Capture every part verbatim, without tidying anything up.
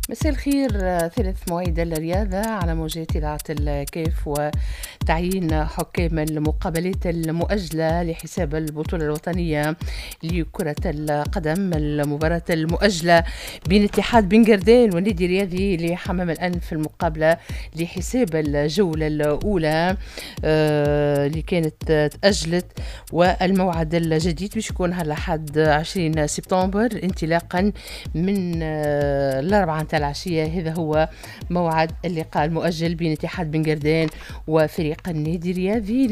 مساء الخير. ثالث مواعيد الرياضة على موجات إذاعة الكاف وتعيين حكام المقابلات المؤجلة لحساب البطولة الوطنية لكرة القدم. المباراة المؤجلة بين اتحاد بن قردان والنادي الرياضي لحمام الأنف، المقابلة لحساب الجولة الأولى آه، اللي كانت تأجلت، والموعد الجديد باش يكون نهار الأحد عشرين سبتمبر انطلاقا من آه، الأربعة نتاع العشية. هذا هو موعد اللقاء المؤجل بين اتحاد بن قردان وفريق النادي الرياضي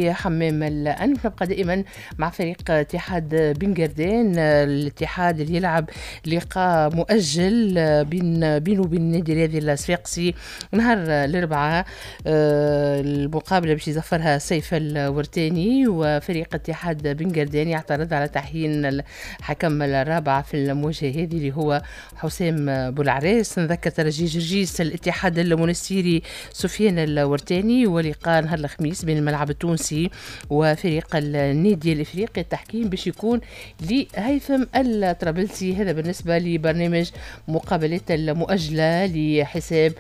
لحمام الأنف. نبقى دائما مع فريق اتحاد بن قردان، الاتحاد اللي يلعب لقاء مؤجل بين بينه وبين النادي الرياضي الصفاقسي نهار الأربعاء. آه، المقابلة باش يزفرها سيف الورتاني، وفريق اتحاد بن قردان يعترض على تعيين الحكم الرابع في المواجهة هذه اللي هو حسام بولعراس. نذكر ترجي جرجيس الاتحاد المونستيري سفيان الورتاني، ولقاء نهار الخميس بين الملعب التونسي وفريق النادي الافريقي، التحكيم باش يكون لهيثم الطرابلسي. هذا بالنسبة لبرنامج مقابلات المؤجلة لحساب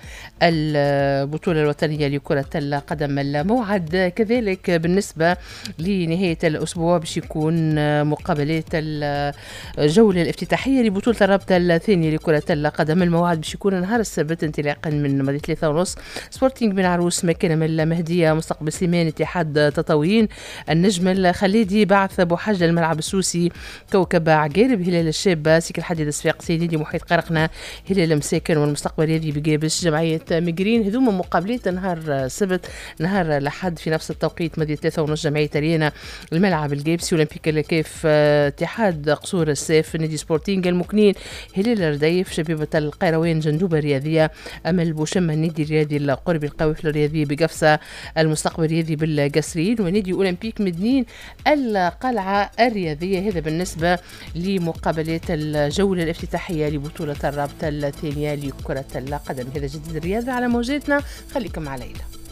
البطولة الوطنية لكرة القدم. الموعد كذلك بالنسبة لنهاية الاسبوع باش يكون مقابلات الجولة الافتتاحيه لبطولة الرابطة الثانية لكرة القدم. الموعد باش يكون نهار السبت انطلاقا من ماضي ثلاثة ونص، سبورتينغ بن عروس، مكارم المهدية، مستقبل سليمان، اتحاد تطاوين، النجم الخليدي، بعث بوحجلة، الملعب السوسي، كوكب عقارب، هلال الشابة، سكة الحديد الصفاقسي، نادي محيط قرقنة، هلال مساكن، والمستقبل الرياضي بقابس، جمعية مقرين. هذوما مقابلات نهار السبت. نهار الأحد في نفس التوقيت ماضي ثلاثة ونص، جمعية أريانة، الملعب القابسي، أولمبيك الكاف، اتحاد قصور الساف، نادي سبورتينغ المكنين، هلال الرديف، شبيبة القيروان، جندوبة الرياضية، أمل بوشمة، النادي الرياضي القربي، القوافل الرياضية بقفصة، المستقبل الرياضي بالقصرين، ونادي أولمبيك مدنين، القلعة الرياضية. هذا بالنسبة لمقابلات الجولة الافتتاحية لبطولة الرابطة الثانية لكرة القدم. هذا جديد الرياضة على موجاتنا، خليكم مع ليلى.